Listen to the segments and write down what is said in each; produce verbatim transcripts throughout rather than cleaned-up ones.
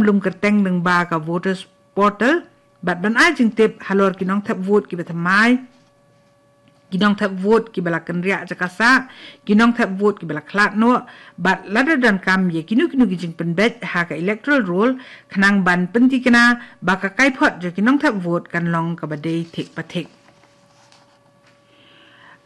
lum kyrteng lyngba ka voters portal bad ban ai jingtip halor ki nongthep vote kiba thymmai, ki nongthep vote kiba la kynriah jaka sah, ki nongthep vote kiba la khlad noh, bad lada donkam ïa kino kino ki jingpynbeit ha ka electoral roll khnang ban pyntikna ba ka kaiphod jong ki nongthep vote kan long kaba dei thik pathik.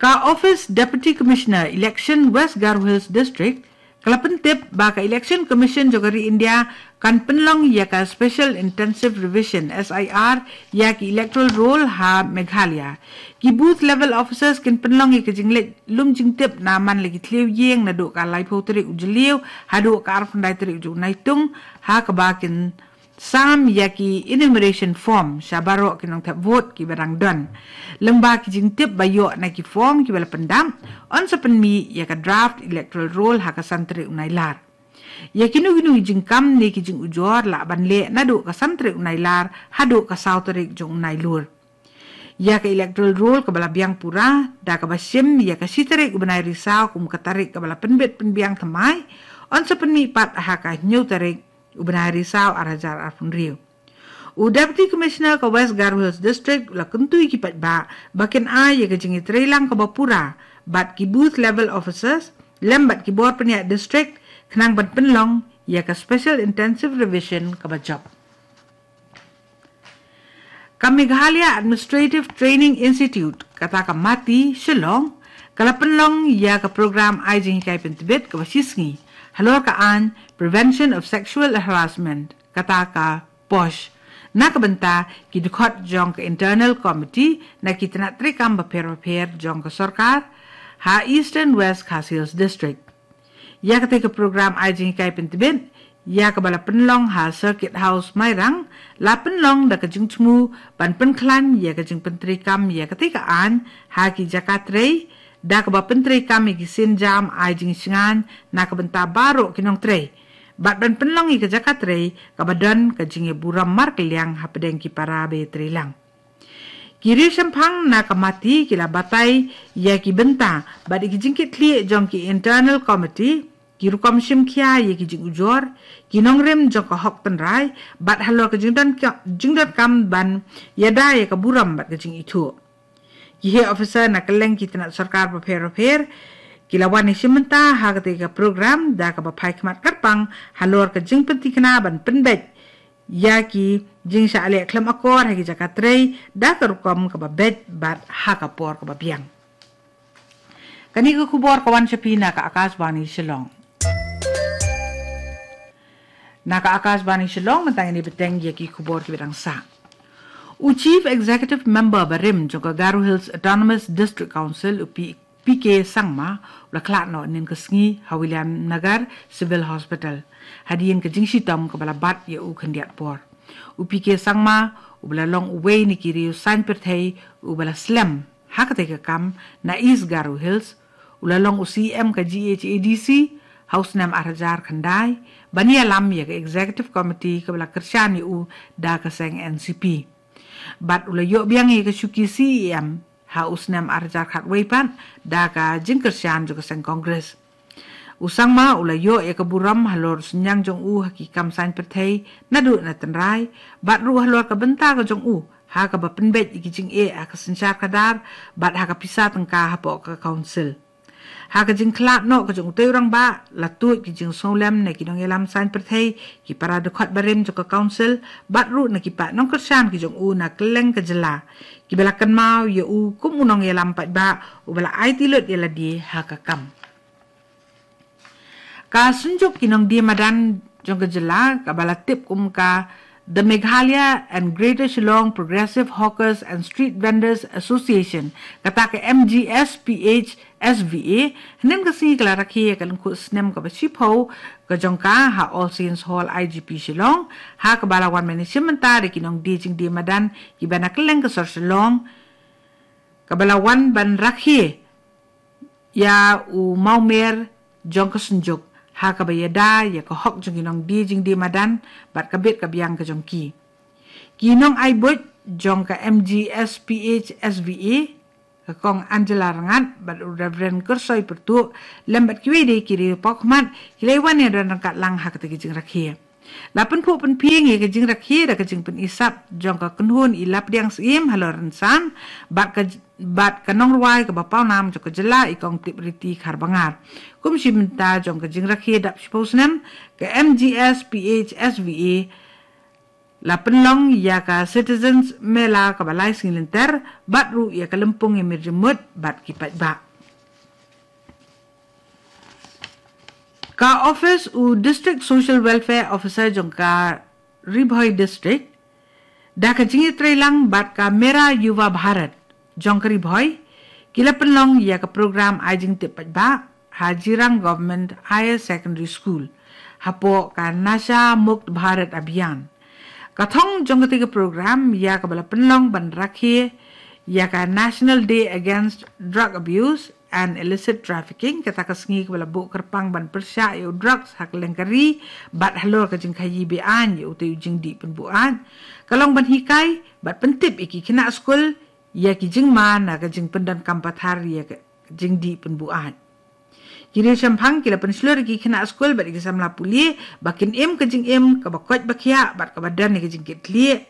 Ka Office Deputy Commissioner Election West Garo Hills District ka la pyntip ba ka Election Commission jong ka ri India kan pynlong ïa ka Special Intensive Revision, S I R, ïa ki electoral roll ha Meghalaya. Ki booth level officers kin pynlong ïa ka jingleit lum jingtip na man la ki thliew ïing naduh ka laiphew tarik u Jylliew haduh ka arphew khyndai tarik u Naitung, ha kaba kin sam ïa ki enumeration form sha baroh ki nongthep vote kiba dang don. Lyngba ki jingtip ba ïoh na ki form kiba la pyndap, yn sa pynmih ïa ka draft electoral roll ha ka san tarik u Nailar. Ïa kino kino ki jingkam ne ki jingujor lah ban leh naduh ka san tarik u Nailar haduh ka saw tarik jong u Nailur. Ïa ka electoral roll kaba la biang pura da kaba shim ïa ka shi tarik u bnai Risaw kum ka tarik kaba la pynbit pynbiang thymmai, yn sa pynmih pat ha ka hynñiew tarik u bnai Risaw ar hajar arphew hynriew. U Deputy Commissioner ka West Garo Hills District u la kyntu ïa ki paidbah ba kin ai ïa ka jingïatreilang kaba pura bad ki booth level officers lem bad ki bor pynïaid district khnang ban pynlong ïa ka Special Intensive Revision kaba jop. Ka Meghalaya Administrative Training Institute, kata ka MATI, Shillong, ka la pynlong ïa ka program ai jinghikai pyntbit kaba shisngi halor ka aiñ Prevention of Sexual Harassment, kata ka POSH, na ka bynta ki dkhot jong ka Internal Committee na ki tnat treikam bapher bapher jong ka sorkar ha Eastern West Khasi Hills District. Ïa katei ka program ai jinghikai pyntbit ïa kaba la pynlong ha Circuit House Mairang, la pynlong da ka jingthmu ban pynkhlaiñ ïa ka jingpyntreikam ïa katei ka aiñ ha ki jaka trei, da kaba pyntreikam ïa ki sienjam ai jingshngaiñ na ka bynta baroh ki nongtrei, bad ban pynlong ïa ka jaka trei kaba don ka jingïaburom markylliang hapdeng ki para ba ïatreilang. Ki riewshemphang na ka MATI ki la batai ïa ki bynta bad ïa ki jingkitkhlieh jong ki Internal Committee, ki rukom shimkhia ïa ki jingujor, ki nongrim jong ka hok tynrai bad halor ka jingdon ka, jingdonkam ban ïada ïa ka burom bad ka jingithuh. Ki heh officer na kylleng ki tnat sorkar bapher bapher ki la wan ïashim bynta ha katei ka program da kaba phai khmat kyrpang halor ka jingpyntikna ban pynbeit ïa ki jingshah leh khlem akor ha ki jaka trei da ka rukom kaba beit bad ha ka por kaba biang. Kane ka khubor ka wan sha phi na ka Akashvani Shillong. Na ka Akashvani Shillong mynta ngin ïa bteng ïa ki khubor kiba dang sah. U Chief Executive Member barim jong ka Garo Hills Autonomous District Council, u P P K Sangma, u la khlad noh hynnin ka sngi ha Williamnagar Civil Hospital hadien ka jingshitom kaba la bat ïa u khyndiat por. U P K Sangma uba la long uwei na ki riew saiñ pyrthei uba la slem ha katei ka kam na East Garo Hills, u la long u C E M ka G H A D C ha u snem ar hajar khyndai, ban ïalam ïa ka Executive Committee kaba la kyrshan ïa u da ka seng N C P. Bad u la ïoh biang ïa ka shuki C E M ha u snem ar hajar khatwei pat da ka jingkyrshan jong ka seng Congress. U Sangma u la ïoh ïa ka burom halor u synñiang jong u ha ki kam saiñ pyrthei naduh na tynrai, bad ruh halor ka bynta ka jong u ha kaba pynbeit ïa ki jingeh ha ka synshar khadar bad ha ka pisa tyngka hapoh ka council. Ha ka jingkhlad noh ka jong utei u rangbah, la tuid ki jingsngewlem na ki nongïalam saiñ pyrthei, ki para dkhot barim jong ka council, bad ruh na ki paid nongkyrshan ki jong u na kylleng ka jylla, kiba la kynmaw ïa u kum u nongïalam paidbah uba la aiti lut ïa lade ha ka kam. Ka Synjuk ki Nongdie Madan jong ka jylla kaba la tip kum ka The Meghalaya and Greater Shillong Progressive Hawkers and Street Vendors Association, kata ka M G S P H S V A, hynnin ka sngi ka la rakhe ïa ka lyngkhuh snem kaba shiphew ka jong ka ha All Saints Hall I G P Shillong, ha kaba la wan ban ïashim bynta da ki nongdie jingdie madan kiba na kylleng ka sor Shillong, kaba la wan ban rakhe ïa u mawmer jong ka Synjuk ha kaba ïada ïa ka hok jong ki nongdie jingdie madan bad ka bit ka biang ka jong ki. Ki nongai buit jong ka M G S P H S V A, ka Kong Angela Rngat bad u Reverend Kyrsoi Pyrtuh, lem bad kiwei de ki riew paw khmat, ki la wan ïadon ryngkat lang ha katei ka jingrakhe. La pynphuh pynphieng ïa ka jingrakhe da ka jingpynisap jong ka kynhun i Lapdiang Syiem halor rynsan bad ka, bad ka nongrwai kaba pawnam jong ka jylla i Kong Tipriti Kharbangar. Kum shi bynta jong ka jingrakhe dap shiphew snem, ka M G S P H S V A la pynlong ïa ka Citizens Mela kaba lai sngi lynter bad ruh ïa ka lympung ïa mir jingmut bad ki paidbah. Ka office u District Social Welfare Officer jong ka Ri Bhoi District, da ka jingïatreilang bad ka Mera Yuva Bharat jong ka Ri Bhoi, ki la pynlong ïa ka program ai jingtip paidbah ha Jirang Government Higher Secondary School hapoh ka Nasha Mukt Bharat Abhiyan. Ka thong jong katei ka program ïa kaba la pynlong ban rakhe ïa ka National Day Against Drug Abuse and Illicit Trafficking, kata ka sngi kaba la buh kyrpang ban pyrshah ïa u drugs ha kylleng ka ri bad halor ka jingkhaïi be-aiñ ïa utei u jingdih pynbuaid. Ka long ban hikai bad pyntip ïa ki khynnah skul ïa ki jingma na ka jingpyndonkam pathar ïa ka jingdih pynbuaid. Ki riewshemphang ki la pynshlur ïa ki khynnah skul bad ïa ki samla pule ba kin im ka jingim kaba koit ba khiah bad kaba don ïa ka jingkitkhlieh.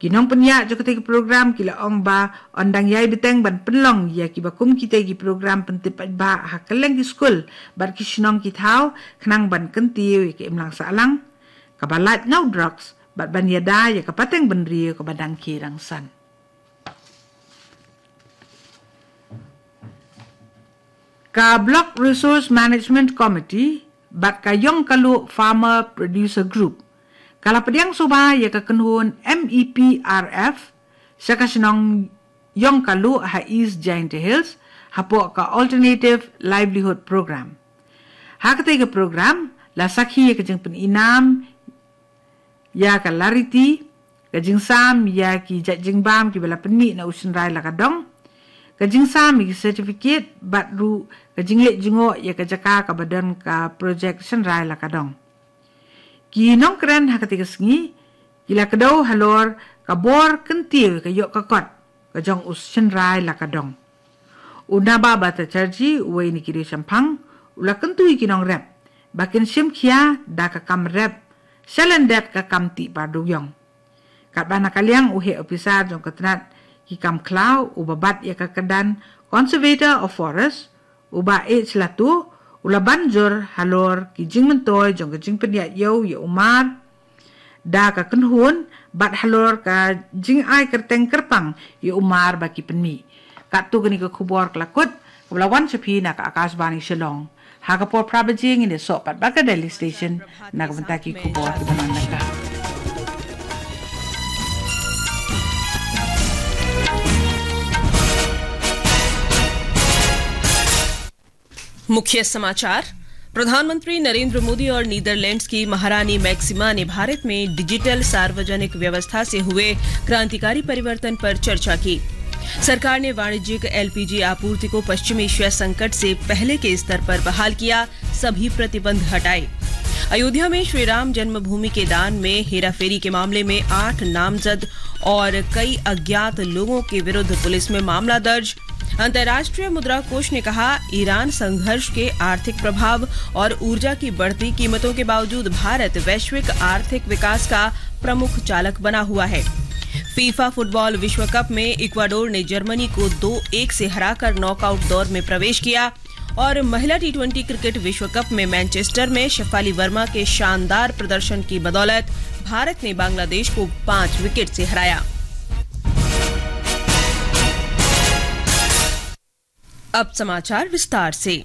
Ki nongpynïaid jong katei ka program ki la ong ba yn dang ïai bteng ban pynlong ïa kiba kum kitei ki program pyntip paidbah ha kylleng ki skul bad ki shnong ki thaw khnang ban kyntiew ïa ka imlang sahlang kaba lait na u drugs bad ban ïada ïa ka pateng bynriew kaba dang khie dang san. Ka Block Resource Management Committee bad ka Yongkalu Farmer Producer Group ka la pdiang suba ïa ka kynhun M E P R F sha ka shnong Yongkalu ha East Jaintia Hills hapoh ka Alternative Livelihood Program. Ha katei ka program la sakhi ïa ka jingpyninam ïa ka lariti, ka jingsam ïa ki jait jingbam kiba la pynmih na u shynrai la ka dong, ka jingsam ïa ki certificate bad ruh ka jingleit jngoh ïa ka jaka kaba don ka projek shynrai la ka dong. Ki nongkren ha katei ka sngi ki la kdew halor ka bor kyntiew ïa ka ïoh ka kot ka jong u shynrai la ka dong. U Naba Bhattacharjee, uwei na ki riewshemphang, u la kyntu ïa ki nongrep ba kin shim khia da ka kam rep shalyndet ka kam tih par dewïong. Katba na ka liang u heh ophisar jong ka tnat ki kam khlaw uba bat ïa ka kyrdan Conservator of Forest, u Bah H Latu, u la ban jur halor ki jingmyntoi jong ka jingpynïaid ïew ïa u mar da ka kynhun bad halor ka jingai kyrteng kyrpang ïa u mar ba ki pynmih. Katto kane ka khubor ka la kut, kaba la wan sha phi na ka Akashvani Shillong. Ha ka por phra baje ngin ïasoh pat bad ka Delhi Station na ka bynta ki khubor kiba nang lyngkha. मुख्य समाचार। प्रधानमंत्री नरेंद्र मोदी और नीदरलैंड्स की महारानी मैक्सिमा ने भारत में डिजिटल सार्वजनिक व्यवस्था से हुए क्रांतिकारी परिवर्तन पर चर्चा की। सरकार ने वाणिज्यिक एलपीजी आपूर्ति को पश्चिम एशिया संकट से पहले के स्तर पर बहाल किया, सभी प्रतिबंध हटाए। अयोध्या में श्री राम जन्मभूमि के दान में हेराफेरी के मामले में आठ नामजद और कई अज्ञात लोगों के विरुद्ध पुलिस में मामला दर्ज। अंतर्राष्ट्रीय मुद्रा कोष ने कहा, ईरान संघर्ष के आर्थिक प्रभाव और ऊर्जा की बढ़ती कीमतों के बावजूद भारत वैश्विक आर्थिक विकास का प्रमुख चालक बना हुआ है। फीफा फुटबॉल विश्व कप में इक्वाडोर ने जर्मनी को दो एक से हराकर नॉकआउट दौर में प्रवेश किया। और महिला टी ट्वेंटी क्रिकेट विश्व कप में मैनचेस्टर में शेफाली वर्मा के शानदार प्रदर्शन की बदौलत भारत ने बांग्लादेश को पाँच विकेट से हराया। अब समाचार विस्तार से।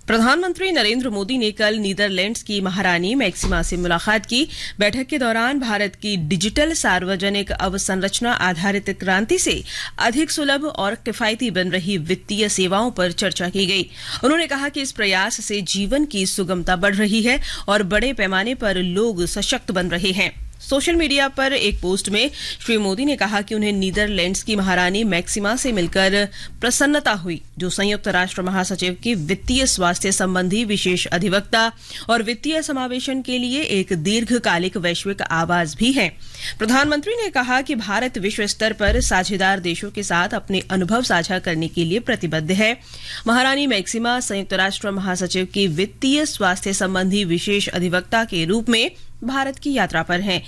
प्रधानमंत्री नरेंद्र मोदी ने कल नीदरलैंड्स की महारानी मैक्सिमा से मुलाकात की। बैठक के दौरान भारत की डिजिटल सार्वजनिक अवसंरचना आधारित क्रांति से अधिक सुलभ और किफायती बन रही वित्तीय सेवाओं पर चर्चा की गई। उन्होंने कहा कि इस प्रयास से जीवन की सुगमता बढ़ रही है और बड़े पैमाने पर लोग सशक्त बन रहे हैं। सोशल मीडिया पर एक पोस्ट में श्री मोदी ने कहा कि उन्हें नीदरलैंड्स की महारानी मैक्सिमा से मिलकर प्रसन्नता हुई, जो संयुक्त राष्ट्र महासचिव की वित्तीय स्वास्थ्य संबंधी विशेष अधिवक्ता और वित्तीय समावेशन के लिए एक दीर्घकालिक वैश्विक आवाज भी हैं। प्रधानमंत्री ने कहा कि भारत विश्व स्तर पर साझेदार देशों के साथ अपने अनुभव साझा करने के लिए प्रतिबद्ध है। महारानी मैक्सिमा संयुक्त राष्ट्र महासचिव की वित्तीय स्वास्थ्य संबंधी विशेष अधिवक्ता के रूप में भारत की यात्रा पर हैं।